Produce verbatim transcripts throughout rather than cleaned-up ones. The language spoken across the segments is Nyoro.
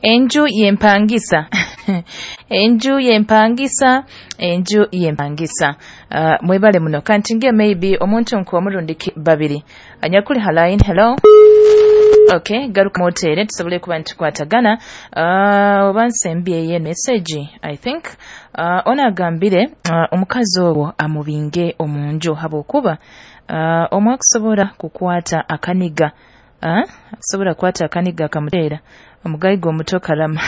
Enju yempangisa, enju yempangisa, enju yempangisa. uh, mwebale muno. Kantinge maybe omuntu nk'omurundi babiri anyakuli ha line. Hello. Okay, garuka motere tusobole kuba nitukwatagana. uh, oba nsembyeyo message, I think uh, ono agambire uh, omukazi ogwo amubinge omunju habwokuba uh, omwe akusobora kukwata akaniga, uh, akusobora kukwata akaniga akamuteera omugayiga omuto karama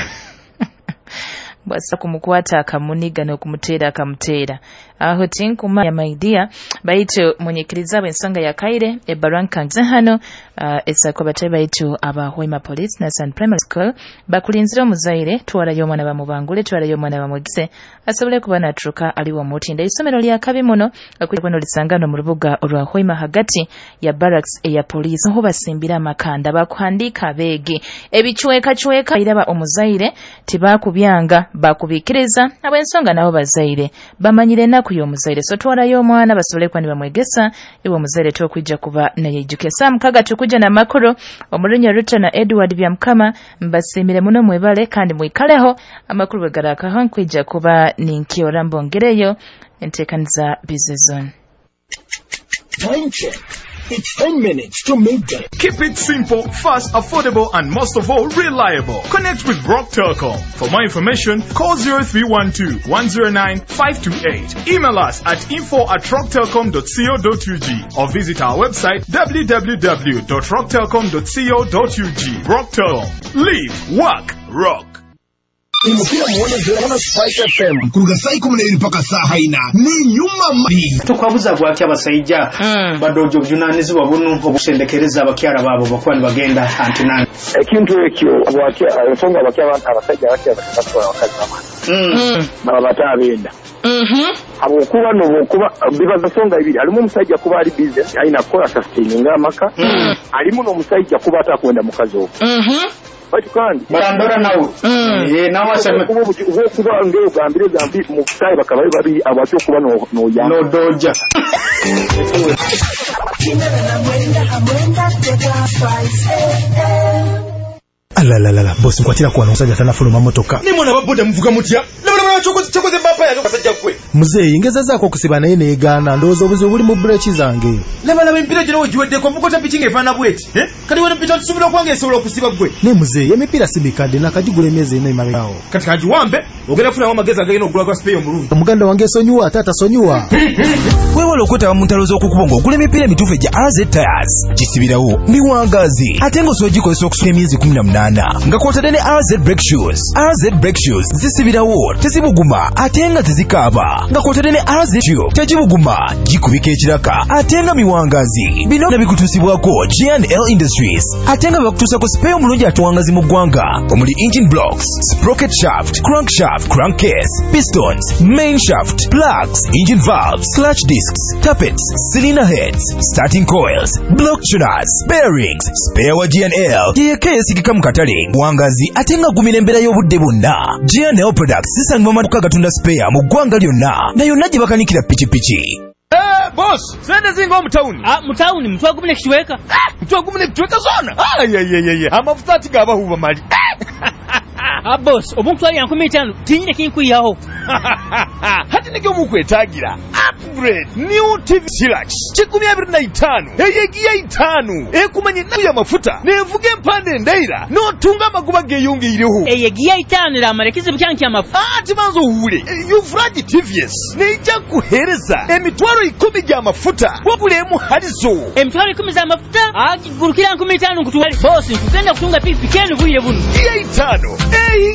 bwasa kumukwata akamuniga n'okumuteera akamuteera. Aho tinkumanya, my dear, baitu munyikiriza bw'ensonga ya kaire ebbarwa nkanze hano. uh, esako batayi baitu aba Hoima Police Nasan Primary School bakulinzira omuzaire, twarayo omwana bamubangule, twarayo omwana bamwegese asobole kuba naturuka aliwo omutinda. Isomero lya kabi muno okukweno lisangano mu rubuga olwa Hoima hagati ya barracks eya police, ho basimbira amakanda, bakuhandika abeegi ebicweka cweka. Iraba omuzaire tibakubyanga, bakubikiriza ab'ensonga nabo bazaire bamanyire ennaku y'omuzaire. So twarayo omwana basobole kuba nibamwegesa. Iwe omuzaire tokwija kuba nayejuke. Saa mukaga tukuja n'amakuru omurunya Ruta na Edward Byamukama. Mbasiimire muno, mwebale kandi mwikaleho. Amakuru bwe garakaho nkwija kuba ninkyora mbongereyo enteekaniza Busy Zone. Time check. It's ten minutes to midday. Keep it simple, fast, affordable, and most of all, reliable. Connect with Rock Telcom. For more information, call zero three one two one zero nine five two eight. Email us at info at rocktelcom dot co dot U G or visit our website w w w dot rocktelcom dot co dot U G. Rock Telcom. Live, work, rock. Imupira muwonezera na Spice F M kuruga saa ikumi n'ebiri paka saa ina ni nyuma mbi. Tukwabuza bwaki abasajja Mm. badoja obuvunanyizibwa buno obusendekereza abakyala baabo bakuba nibagenda antinani? Ekintu ekyo bwaki ensonga abaki abasajja abaki batwala abakazi bamwana Mm. baba bato abenda Mhm. habwokuba nobwokuba biba nsonga ibiri. Alimu omusajja kuba ali busy alina kukola sustaininga amaka, alimu n'omusajja kuba atakwenda mukazi ogwo. Mhm. Baitu kandi Barandora nawe. Mm. Eh, nawe aseme. Okuba obuki- obwokuba ngaogambire gambi mu busaayi bakaba bali babiri abaki okuba no- noyamba Nodoja. Alalalala, bosi, nkwatira kuwano, omusajja tanafuluma motoka. Nimwana baboda muvuga mutya? Labalabala, kyokoze bapa yange basajja gwe. Muzeeyi, ngezezaako okusiba naye neegaana. Ndowooza obuzibu buli mu bureki zange. Labalaba emipiira gino wegiweddeko, ovuga otya piki ng'efaanana bweti? Eh? Kati wano piki tusuubira okuba ng'esobola okusiba gwe. Naye muzeeyi, emipiira si mikadde, nakagigula emyezi ena emabegaawo. Kati kagiwambe ogenda kufunamu amagezi agagenda okugula gwa spare omulungi. Muganda wange esonyiwa ate atasonyiwa. Weewale okwetaba mu ntalo z'okukubo ng'ogula emipiira emituufu egya A Z Tires. Gisibirawo miwangaazi ate ng'osobola gikozesa okusuka emyezi kkumi na munaana nga kw'otadde ne A Z Brake Shoes. A Z Brake Shoes zisibirawo, tezibuguma ate nga tezikaaba, nga kw'otadde ne A Z Tube tegibuguma, gikubika ekiraka ate nga miwangaazi. Bino bikutuusibwako G and L Industries ate nga bakutuusako spare omulungi atuwangazi mu ggwanga omuli engine blocks, sprocket shaft, crankshaft, crankcase, pistons, main shaft, plugs, engine valves, clutch discs, tappets, cylinder heads, starting coils, block tuners, bearings. Spare wa G and L yeyeka eyesigika mu katale, wangazi ate nga gumira embeera y'obudde bwonna. G and L Products zisangibwa mu maduuka agatunda spare mu ggwanga lyonna na yonna gye bakanikira pikipiki. Boss, sente zinga omutawuni. Mu tawuni mutwalo gumu nekicweka. Mutwalo gumu nekicweka zona? Ayayayaya, amafuta ati gabahuba mali. Ah, boss, obu nkutwalira nkumi itaano tinyine kinkwihaho. Hati nikyo mukwetagira upgrade new T V Hilux kikumi abiri na itaano eyegiya itaano ekumanya ennaku y'amafuta nevuga empande endaira n'otunga amagoba geeyongeireho. Eyegiya itaano eramara ekizibu kyange kyamafu. Ati banza owuule, Ufragi T V S neija kuheereza emitwalo ikumi gy'amafuta wabula emu halizo. Emitwalo ikumi z'amafuta agigurukira nkumi itaano nkutwale. Boss, nkugenda kutunga pikipiki enu bwire buno. Giya itaano eyi.